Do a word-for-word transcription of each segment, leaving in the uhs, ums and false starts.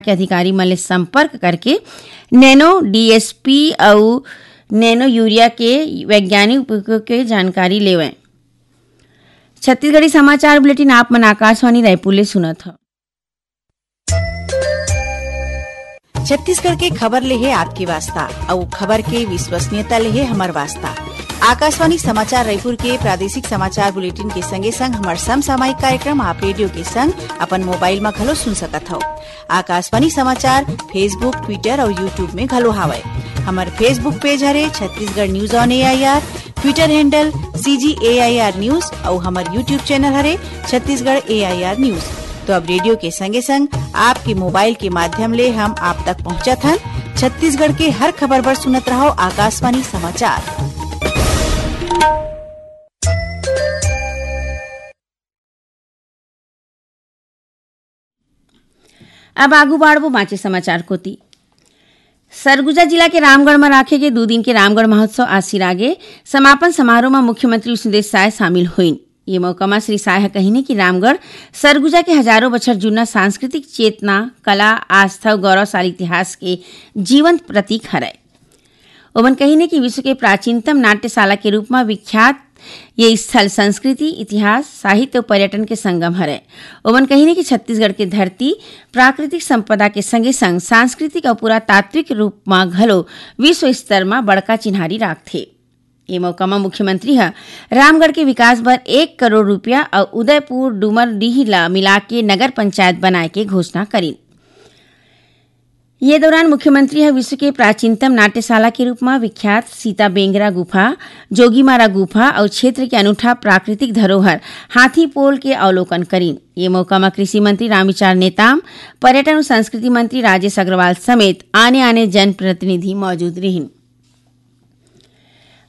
के अधिकारी मन ले संपर्क करके नैनो डीएसपी अउ नैनो यूरिया के वैज्ञानिक उपयोग के जानकारी लेवय। छत्तीसगढ़ी समाचार बुलेटिन आप मन आकाशवाणी रायपुर ले सुनत हव। छत्तीसगढ़ के खबर ले हे आपके वास्ता, अउ खबर के विश्वसनीयता ले हे हमर वास्ता। आकाशवाणी समाचार रायपुर के प्रादेशिक समाचार बुलेटिन के संगे संग हमर समसामयिक कार्यक्रम आप रेडियो के संग अपन मोबाइल म घलो सुन सकत हव। आकाशवाणी समाचार Facebook, Twitter अउ YouTube में घलो हावय। हमर Facebook पेज हरे Chhattisgarh news on AIR, Twitter handle CG AIR news अउ हमर YouTube चैनल हरे छत्तीसगढ़ एआईआर न्यूज। तो अब रेडियो के संगे संग आपके मोबाइल के माध्यम ले हम आप तक पहुंचत हन। छत्तीसगढ़ के हर खबर बर सुनत रहव आकाशवाणी समाचार। अब आगू बाढ़बो बांचे समाचार कोति। सरगुजा जिला के रामगढ़ म राखे गे दू दिन के रामगढ़ महोत्सव आज सिरागे। समापन समारोह म मुख्यमंत्री विष्णुदेव साय शामिल होइन। ये मौका म श्री साय ह कहिने कि रामगढ़ सरगुजा के हजारों बछर जुन्ना सांस्कृतिक चेतना, कला, आस्था अउ गौरवशाली इतिहास के जीवंत प्रतीक हरय। ओमन कहिने कि विश्व के प्राचीनतम नाट्यशाला के रूप म विख्यात ये स्थल संस्कृति, इतिहास, साहित्य अउ पर्यटन के संगम हरय। ओमन कहिने कि छत्तीसगढ़ के धरती प्राकृतिक संपदा के संगे संग सांस्कृतिक अउ पुरातात्विक रूप म घलो विश्व स्तर म बड़का चिन्हारी राखथे। ए मौका म मुख्यमंत्री ह रामगढ़ के विकास बर एक करोड़ रुपया अउ उदयपुर डूमरडीह ल मिलाके नगर पंचायत बनाए के घोषणा करिन। ये दौरान मुख्यमंत्री ह विश्व के प्राचीनतम नाट्यशाला के रूप म विख्यात सीता बेंगरा गुफा, जोगीमारा गुफा अउ क्षेत्र के अनूठा प्राकृतिक धरोहर हाथी पोल के अवलोकन करिन। ये मौका म कृषि मंत्री रामविचार नेताम, पर्यटन अउ संस्कृति मंत्री राजेश अग्रवाल समेत आने-आने जनप्रतिनिधि मौजूद रिहिन।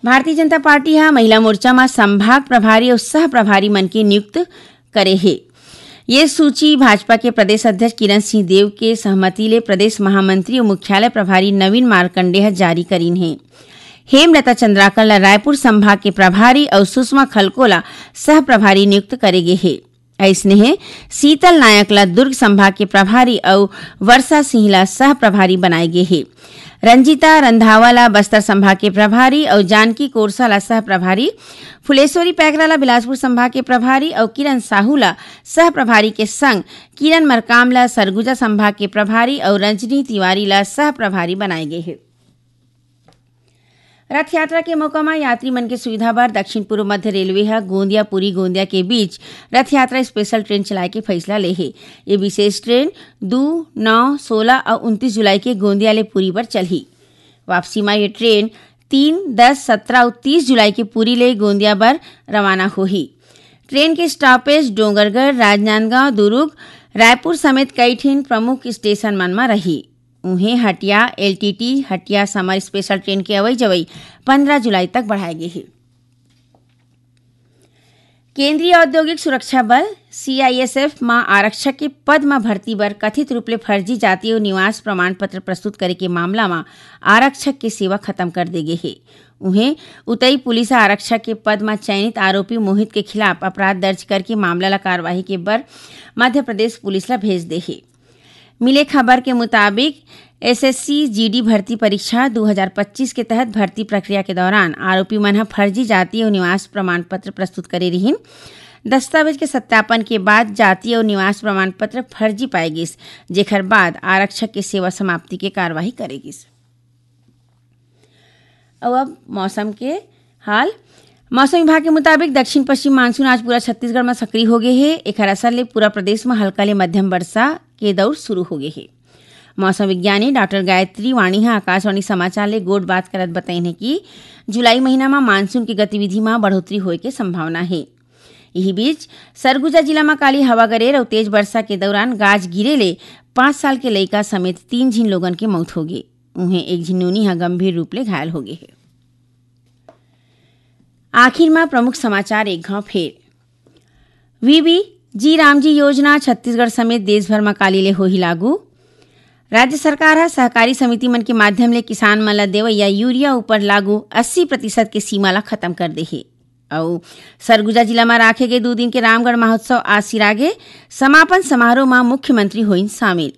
भारतीय जनता पार्टी ह महिला मोर्चा म संभाग प्रभारी अउ सह प्रभारी मन के नियुक्त करे हे। ये सूची भाजपा के प्रदेश अध्यक्ष किरण सिंह देव के सहमति ले प्रदेश महामंत्री अउ मुख्यालय प्रभारी नवीन मार्कंडे ह जारी करीन हे। हेमलता चंद्राकर ल रायपुर संभाग के प्रभारी अउ सुषमा खलको ल सह प्रभारी नियुक्त करे गे हे। अइसने हे शीतल नायक ल दुर्ग संभाग के प्रभारी अउ वर्षा सिंह ल सह प्रभारी बनाए गे हे। रंजीता रंधावा ल बस्तर संभाग के प्रभारी अउ जानकी कोरसा ल सह प्रभारी, फुलेश्वरी पैकरा ल बिलासपुर संभाग के प्रभारी अउ किरण साहू ल सह प्रभारी के संग किरण मरकाम ल सरगुजा संभाग के प्रभारी अउ रंजनी तिवारी ल सह प्रभारी बनाए गे हे। रथ यात्रा के मौका म यात्री मन के सुविधा बर दक्षिण पूर्व मध्य रेलवे ह गोंदिया पुरी गोंदिया के बीच रथ यात्रा स्पेशल ट्रेन चलाए के फैसला ले हे। ये विशेष ट्रेन दू, नौ, सोलह अउ उनतीस जुलाई के गोंदिया ले पुरी बर चलही। वापसी म ये ट्रेन तीन, दस, सत्रह अउ तीस जुलाई के पुरी ले गोंदिया बर रवाना होही। ट्रेन के स्टॉपेज डोंगरगढ़, राजनांदगांव, दुरूग, रायपुर समेत कई ठिन प्रमुख स्टेशन मन म रही। उहें, हटिया एलटीटी हटिया समर स्पेशल ट्रेन के अवई जवई पंद्रह जुलाई तक बढ़ाए गे हे। केंद्रीय औद्योगिक सुरक्षा बल, सीआईएसएफ, म आरक्षक के पद म भर्ती बर कथित रूप ले फर्जी जाति अउ निवास प्रमाण पत्र प्रस्तुत करे के मामला म आरक्षक के सेवा खत्म कर दे गे हे। उहें, उतई पुलिस ह आरक्षक के पद म चयनित आरोपी मोहित के खिलाफ अपराध दर्ज करके मामला ल कार्रवाई के बर मध्य प्रदेश पुलिस ल भेज दे हे। मिले खबर के मुताबिक, एसएससी जीडी भर्ती परीक्षा दू हजार पच्चीस के तहत भर्ती प्रक्रिया के दौरान आरोपी मन ह फर्जी जाति अउ निवास प्रमाण पत्र प्रस्तुत करे रिहिन। दस्तावेज के सत्यापन के बाद जाति अउ निवास प्रमाण पत्र फर्जी पाए गिस, जेखर बाद आरक्षक के सेवा समाप्ति के कार्रवाई करे गिस। अउ अब मौसम के हाल। मौसम विभाग के मुताबिक, दक्षिण पश्चिम मानसून आज पूरा छत्तीसगढ़ म सक्रिय हो गे हे। एखर असर ले पूरा प्रदेश म हल्का ले मध्यम वर्षा के दौर शुरू हो गे हे। मौसम विज्ञानी डॉक्टर गायत्री वाणी ह आकाशवाणी समाचार ले गोठ बात करत बताइन हे कि जुलाई महीना म मानसून के गतिविधि म बढ़ोतरी होए के संभावना हे। इही बीच, सरगुजा जिला म काली हवा गरेर अउ तेज वर्षा के दौरान गाज गिरे ले पाँच साल के लइका समेत तीन झिन लोगन के मौत होगे। उहें, एक झिन नोनी ह गंभीर रूप ले घायल होगे हे। आखिर म प्रमुख समाचार एक घांव फेर। वीबी जी रामजी योजना छत्तीसगढ़ समेत देश भर म काली ले होही लागू। राज्य सरकार ह सहकारी समिति मन के माध्यम ले किसान मन ल देवइया यूरिया ऊपर लागू अस्सी प्रतिशत के सीमा ल खत्म कर दे हे। अउ सरगुजा जिला म राखे गे दू दिन के रामगढ़ महोत्सव आज सिरागे। समापन समारोह म मुख्यमंत्री होइन शामिल।